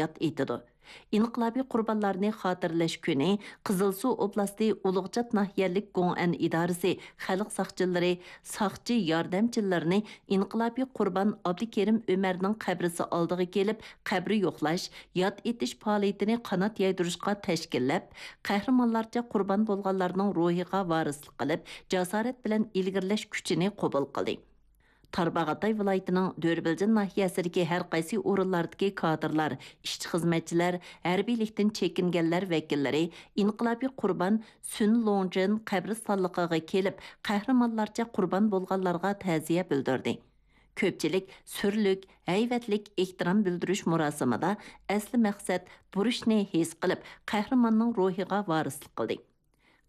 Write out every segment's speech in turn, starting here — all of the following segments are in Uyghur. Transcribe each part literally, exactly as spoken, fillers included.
يات ئېتىدۇ. ئىنقىلابىي قۇربانلارنى خاتىرىلەش كۈنى قىزىلسۇ ئوبلاستى ئۇلۇغچات ناھىيەلىك گوڭئەن ئىدارىسى خەلق ساقچىلىرى، ساقچى ياردەمچىلىرىنى ئىنقىلابىي قۇربان ئابدۇكېرىم ئۆمەرنىڭ قەبرىسى ئالدىغا كېلىپ، قەبرە يوقلاش، يات ئېتىش پائالىيىتىنى قانات يايدۇرۇشقا تەشكىللەپ، قەھرىمانلارچە قۇربان بولغانلارنىڭ روھىغا ۋارىسلىق قىلىپ، جاسارەت بىلەن ئىلگىرىلەش كۈچىنى قوبۇل قىلدى. تارباغاتاي ۋىلايىتىنىڭ دۆربىلجىن ناھىيەسىدىكى ھەر قايسى ئورۇنلاردىكى كادىرلار، ئىشچى-خىزمەتچىلەر، ھەربىيلىكتىن چېكىنگەنلەر ۋەكىللىرى ئىنقىلابىي قۇربان سۈن لوڭجىن قەبرىستانلىقىغا كېلىپ، قەھرىمانلارچە قۇربان بولغانلارغا تەزىيە بىلدۈردى. كۆپچىلىك سۈرلۈك، ھەيۋەتلىك ئېھتىرام بىلدۈرۈش مۇراسىمىدا ئەسلى مەقسەت بۇرچنى ھېس قىلىپ، قەھرىماننىڭ روھىغا ۋارىسلىق قىلدى.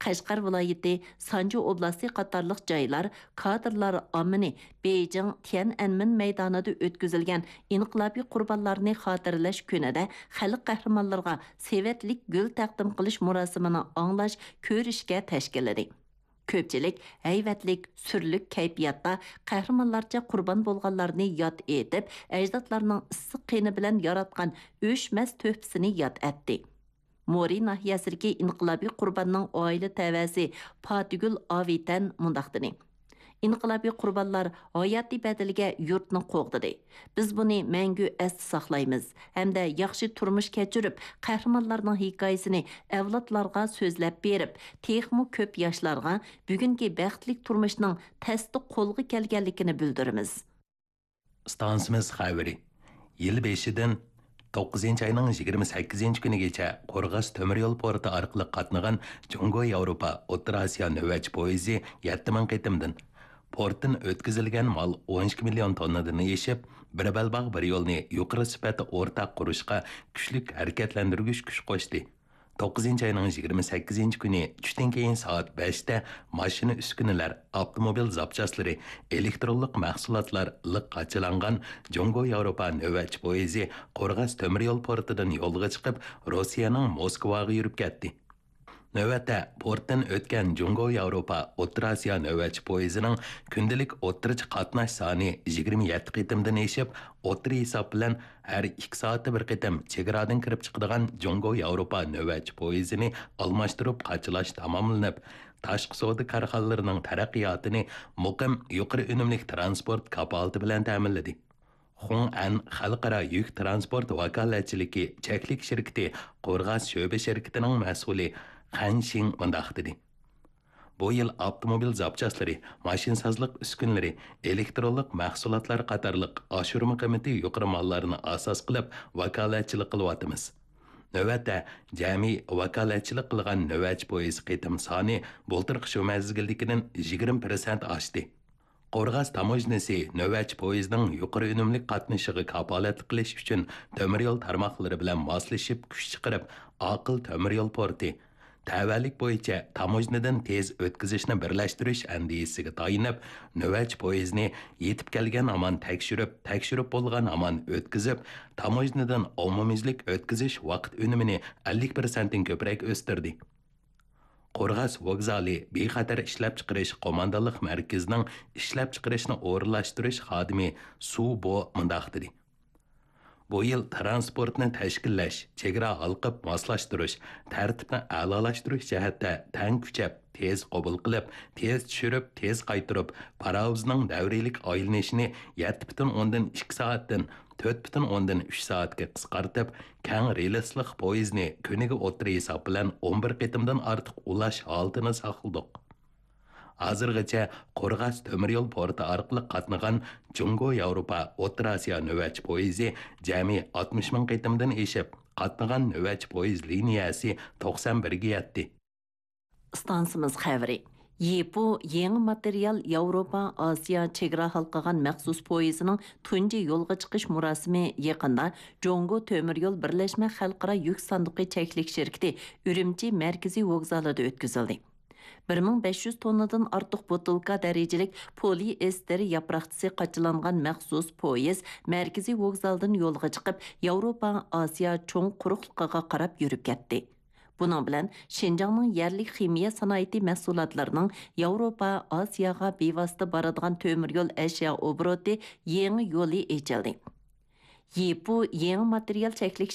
قەشقەر ۋىلايىتى، سانجى ئوبلاستى قاتارلىق جايلار كادىرلار ئاممىنى بېيجىڭ تيەنئەنمېن مەيدانىدا ئۆتكۈزۈلگەن ئىنقىلابىي قۇربانلارنى خاتىرىلەش كۈنىدە خەلق قەھرىمانلىرىغا سېۋەتلىك گۈل تەقدىم قىلىش مۇراسىمىنى ئاڭلاش، كۆرۈشكە تەشكىللىدى. كۆپچىلىك ھەيۋەتلىك، سۈرلۈك كەيپىياتتا قەھرىمانلارچە قۇربان بولغانلارنى ياد ئېتىپ، ئەجدادلارنىڭ ئىسسىق قېنى بىلەن ياراتقان ئۆچمەس تۆھپىسىنى ياد ئەتتى. مورى ناھىيەسىدىكى ئىنقىلابىي قۇرباننىڭ ئائىلە تەۋەسى پاتىگۈل ئاۋېتەن مۇنداق دېدى: ئىنقىلابىي قۇربانلار ھاياتى بەدىلىگە يۇرتنى قوغدىدى. بىز بۇنى مەڭگۈ ئەستە ساقلايمىز ھەمدە ياخشى تۇرمۇش كەچۈرۈپ، قەھرىمانلارنىڭ ھېكايىسىنى ئەۋلادلارغا سۆزلەپ بېرىپ، تېخىمۇ كۆپ ياشلارغا بۈگۈنكى بەختلىك تۇرمۇشنىڭ تەستە قولغا كەلگەنلىكىنى بىلدۈرىمىز. ئىستانسىمىز خەۋىرى. يىل بېشىدىن توققۇزىنچى ئاينىڭ يىگىرمە سەككىزىنچى كۈنىگىچە قورغاس تۆمۈر يول پورتى ئارقىلىق قاتنىغان جۇڭگو ياۋروپا ئوتتۇرا ئاسىيا نۆۋەتچى پويىزى يەتتە مىڭ قېتىمدىن، پورتتىن ئۆتكۈزۈلگەن مال ئون ئىككى مىليون توننىدىن ئېشىپ، بىر بەلباغ بىر يولنى يۇقىرى سۈپەتتە ئورتاق قۇرۇشقا كۈچلۈك ھەرىكەتلەندۈرگۈچ كۈچ قوشتى. توققۇزىنچى ئاينىڭ يىگىرمە سەككىزىنچى كۈنى چۈشتىن كېيىن سائەت بەشتە ماشىنا ئۈسكۈنىلەر، ئاپتوموبىل زاپچاسلىرى، ئېلېكترونلۇق مەھسۇلاتلار لىق قاچىلانغان جۇڭگو ياۋروپا نۆۋەتچى پويىزى قورغاس تۆمۈر يول پورتىدىن يولغا چىقىپ، روسىيەنىڭ موسكۋاغا يۈرۈپ كەتتى. نۆۋەتتە پورتتىن ئۆتكەن جۇڭگو ياۋروپا ئوتتۇرا ئاسىيا نۆۋەتچى پويىزىنىڭ كۈندىلىك ئوتتۇرىچە قاتناش سانى يىگىرمە يەتتە قېتىمدىن ئېشىپ، ئوتتۇرا ھېساب بىلەن ھەر ئىككى سائەتتە بىر قېتىم چېگرادىن كىرىپ چىقىدىغان جۇڭگو ياۋروپا نۆۋەتچى پويىزىنى ئالماشتۇرۇپ قاچىلاش تاماملىنىپ، تاشقى سودا كارخانىلىرىنىڭ تەرەققىياتىنى مۇقىم، يۇقىرى ئۈنۈملۈك تىرانسپورت كاپالىتى بىلەن تەمىنلىدى. خۇڭئەن خەلقئارا يۈك تىرانسپورت ۋاكالەتچىلىكى چەكلىك شىركىتى قورغاس شۆبە شىركىتىنىڭ مەسئۇلى خەن شىڭ مۇنداق دېدى: بۇ يىل ئاپتوموبىل زاپچاسلىرى، ماشىنىسازلىق ئۈسكۈنىلىرى، ئېلېكترونلۇق مەھسۇلاتلار قاتارلىق ئاشۇرما قىممىتى يۇقىرى ماللارنى ئاساس قىلىپ ۋاكالەتچىلىك قىلىۋاتىمىز. نۆۋەتتە جەمئىي ۋاكالەتچىلىك قىلغان نۆۋەتچى پويىز قېتىم سانى بۇلتۇرقى شۇ مەزگىلدىكىدىن يىگىرمە پىرسەنت ئاشتى. قورغاس تاموژنىسى نۆۋەتچى پويىزنىڭ يۇقىرى ئۈنۈملۈك قاتنىشىغا كاپالەتلىك قىلىش ئۈچۈن تۆمۈر يول تارماقلىرى بىلەن ماسلىشىپ كۈچ چىقىرىپ، ئاقىل تۆمۈر يول پورتى، تەۋەلىك بويىچە تاموژنىدىن تېز ئۆتكۈزۈشنى بىرلەشتۈرۈش ئەندىزىسىگە تايىنىپ، نۆۋەتچى پويىزنى يېتىپ كەلگەن ھامان تەكشۈرۈپ، تەكشۈرۈپ بولغان ھامان ئۆتكۈزۈپ، تاموژنىدىن ئومۇميۈزلۈك ئۆتكۈزۈش ۋاقىت ئۈنۈمىنى ئەللىك پىرسەنتتىن كۆپرەك ئۆستۈردى. قورغاس ۋوگزالى بىخەتەر ئىشلەپچىقىرىش قوماندانلىق مەركىزىنىڭ ئىشلەپچىقىرىشنى ئورۇنلاشتۇرۇش خادىمى سۇ بو مۇنداق دېدى: بۇ يىل تىرانسپورتنى تەشكىللەش، چېگرا ھالقىپ ماسلاشتۇرۇش، تەرتىپنى ئەلالاشتۇرۇش جەھەتتە تەڭ كۈچەپ، تېز قوبۇل قىلىپ، تېز چۈشۈرۈپ، تېز قايتۇرۇپ، پاراۋۇزنىڭ دەۋرىيلىك ئايلىنىشىنى يەتتە پۈتۈن ئوندىن ئىككى سائەتتىن تۆت پۈتۈن ئوندىن ئۈچ سائەتكە قىسقارتىپ، كەڭ رېلىسلىق پويىزنى كۈنىگە ئوتتۇرا ھېساب بىلەن ئون بىر قېتىمدىن ئارتۇق ئۇلاش ھالىتىنى ساقلىدۇق. ھازىرغىچە قورغاس تۆمۈر يول پورتى ئارقىلىق قاتنىغان جۇڭگو ياۋروپا ئوتتۇرا ئاسىيا نۆۋەتچى پويىزى جەمئىي ئاتمىش مىڭ قېتىمدىن ئېشىپ، قاتنىغان نۆۋەتچى پويىز لىنىيەسى توقسان بىرگە يەتتى. ئىستانسىمىز خەۋىرى. يىپۇ يېڭى ماتېرىيال ياۋروپا ئاسىيا چېگرا ھالقىغان مەخسۇس پويىزىنىڭ تۇنجى يولغا چىقىش مۇراسىمى يېقىندا جۇڭگو تۆمۈر يول بىرلەشمە خەلقئارا يۈك ساندۇقى چەكلىك شىركىتى ئۈرۈمچى مەركىزىي ۋوگزالىدا ئۆتكۈزۈلدى. بىر مىڭ بەش يۈز توننىدىن ئارتۇق بوتۇلكا دەرىجىلىك پولىئېستېر ياپراقچىسى قاچىلانغان مەخسۇس پويىز مەركىزىي ۋوگزالدىن يولغا چىقىپ، ياۋروپا ئاسىيا چوڭ قۇرۇقلۇقىغا قاراپ يۈرۈپ كەتتى. بۇنىڭ بىلەن شىنجاڭنىڭ يەرلىك خىمىيە سانائىتى مەھسۇلاتلىرىنىڭ ياۋروپا ئاسىياغا بىۋاسىتە بارىدىغان تۆمۈر يول ئەشيا ئوبوروتى يېڭى يولى ئېچىلدى. يىپۇ يېڭى ماتېرىيال چەكلىك